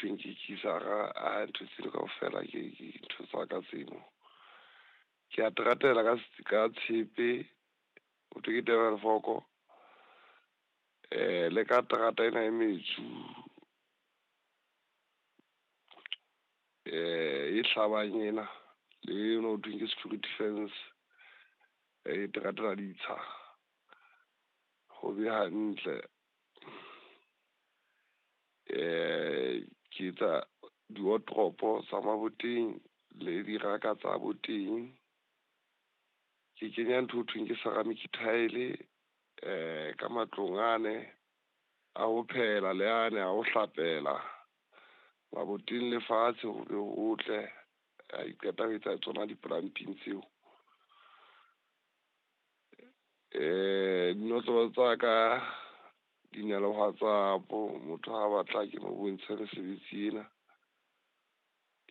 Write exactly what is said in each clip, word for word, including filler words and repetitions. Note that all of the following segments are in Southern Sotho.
thweng ke kisara, a ntho tseno kaofela ke ke ntho tsa ka tseno. Ke a teratela ka ka tshepe, ho thwe ke Develfoko. Eh le ka terata ena e metsu eh e hlabang ena le eno ho thweng ke security fence, e teratela ditsha. Ho be hantle. Eh ke etsa di-wardrobe tsa maboteng le diraka tsa boteng. Ke kenya ntho ho thweng ke ceramic tile eh ka matlong ane a ho phehela le ane a ho hlapela maboteng le fatshe ho be hotle. Ha ke qeta ho etsa tsona di-plumbing tseo. Eh dinotlolo tsa ka di na le WhatsApp, motho ha batla ke mo bontshe mesebetsi ena,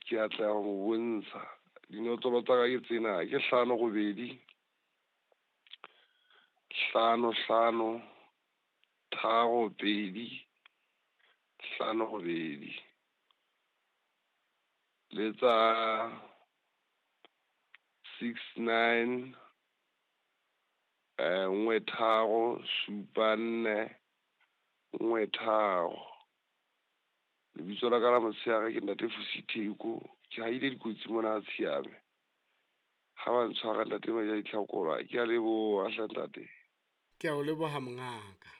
ke atleha ho mo bontsha. Dinotlolo tsa ka ke tsena, ke hlano robedi, hlano hlano, tharo pedi, hlano robedi. Le tsa six nine, eh nngwe tharo, supa nne, nngwe tharo. Lebitso la ka la motshehare ke Ntate Fusi Theko. Ke haile dikotsi mona Tshiame. Ha ba ntshwara Ntate Maja Ditlhakola, ke a leboha hle ntate. Ke a o leboha mongaka.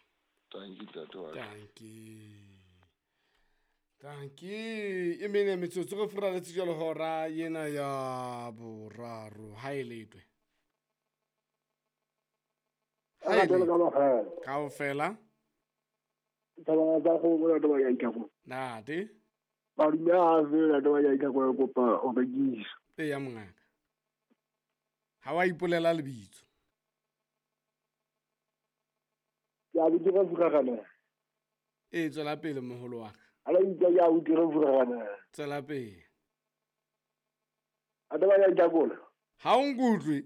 Tanki ntate wa ka. Tanki. Tanki. E mene metsotso re furaletse jwalo hora ena ya boraro. Ha e letwe. Ha e letwe. Kaofela. Thabana tsa go bona taba ya Itlhako. Ntate. Madume a fela taba ya Itlhako ya kopa o rekisa. E ya mongaka. Ha wa ipolela lebitso. Ke a bitse ka furagana. E tswela pele moholo wa ka. Ala itse ya o dire furagana. Tswela pele. A taba ya Itlhako. Ha o nkutlwe.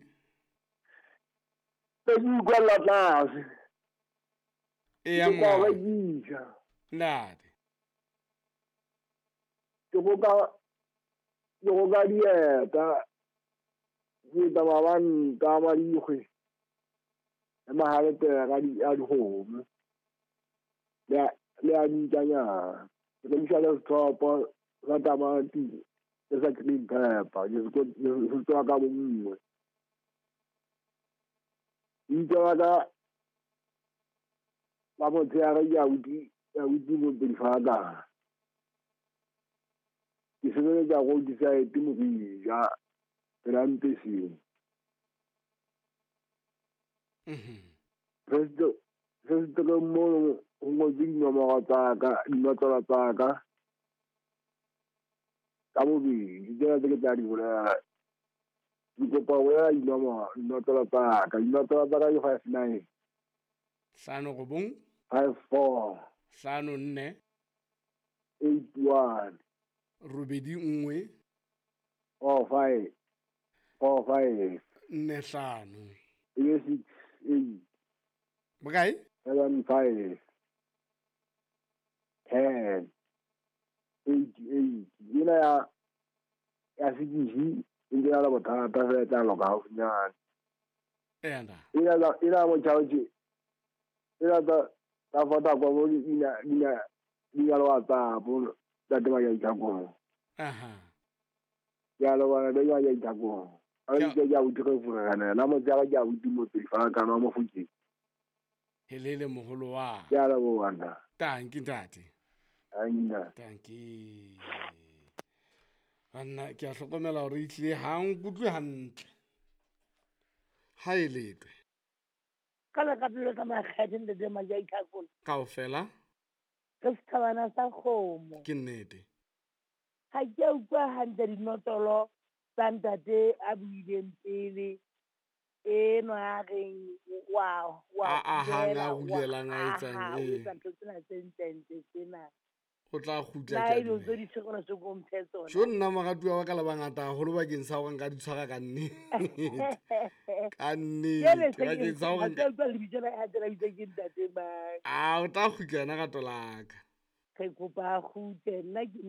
Ke utlwa la tlase. E ya mongaka. Ntate. Ke go ka ke go ka dieta. Ke tsa ba nka madikgwe. Le mahalete a di a dikgomo. Le le a dintjanyana. Ke rekisa le sethopo sa tamati le sa green pepper. Ke se tswa ka bonngwe. Itse wa ka la motshehare ke a utlwi ke a utlwi mo Ke sebeletsa roadside Morija pela Mpeseng. Mhm. Fesetereng mono ho ngotswe dinomoro tsa ka, dinotlolo tsa ka ka bobedi. Tsena tse ke tla di bolela. Ke kopa ho bolela dinomoro, dinotlolo tsa ka. Dinotlolo tsa ka ke five nine. Hlano robong. Five four. Hlano nne. Eight one. Robedi nngwe. Four five. Four five. Nne hlano. Ebe six eight. Bokae? Seven five. Ten. Eight eight. Ena ya ya sekisi e ntse na le bothata fela e tla loka haufinyane. Eya ntate. Ena tsa ena motjha ena tsa tsa Vodacom mo di na di na di na le WhatsApp ntate ba ya Itlhakong. Aha. Ke a leboha ntate ya Itlhakong. A Ke a ke a utlwe furagana la motshehare ke a utlwe motswedi fa ka nwa Mofokeng. Helele moholo wa. Ke a leboha ntate. Tanki ntate. Tanki. Tanki. Banna ke a hlokomela hore e tlile ha nkutlwe hantle. Ha e letwe. Ka la ka pelo ka makgethe ntate Maja Itlhakong. Kaofela. Re sethabana sa kgomo. Ke nnete. Ha ke a utlwa hantle dinotlolo tsa ntate a buileng pele. Eno a reng wa wa A ahang a wa rulelang a etsang aha, o ee. etsa ntho tsena tse ntlentle tsena. O tla kgutla La ke a e dilo tse dumela. di tshwerwe se ko mphe tsona. Jo nna moratuwa wa ka le bangata haholo bakeng sa hore nka di tshwara ka nnete. Ka Jwale nnete se ke bakeng sa hore ha ke nka a utlwa lebitso la hae la bitsa ke ntate mang. Ah, o tla kgutla yena rato la ka. Re kopa a kgutle nna ke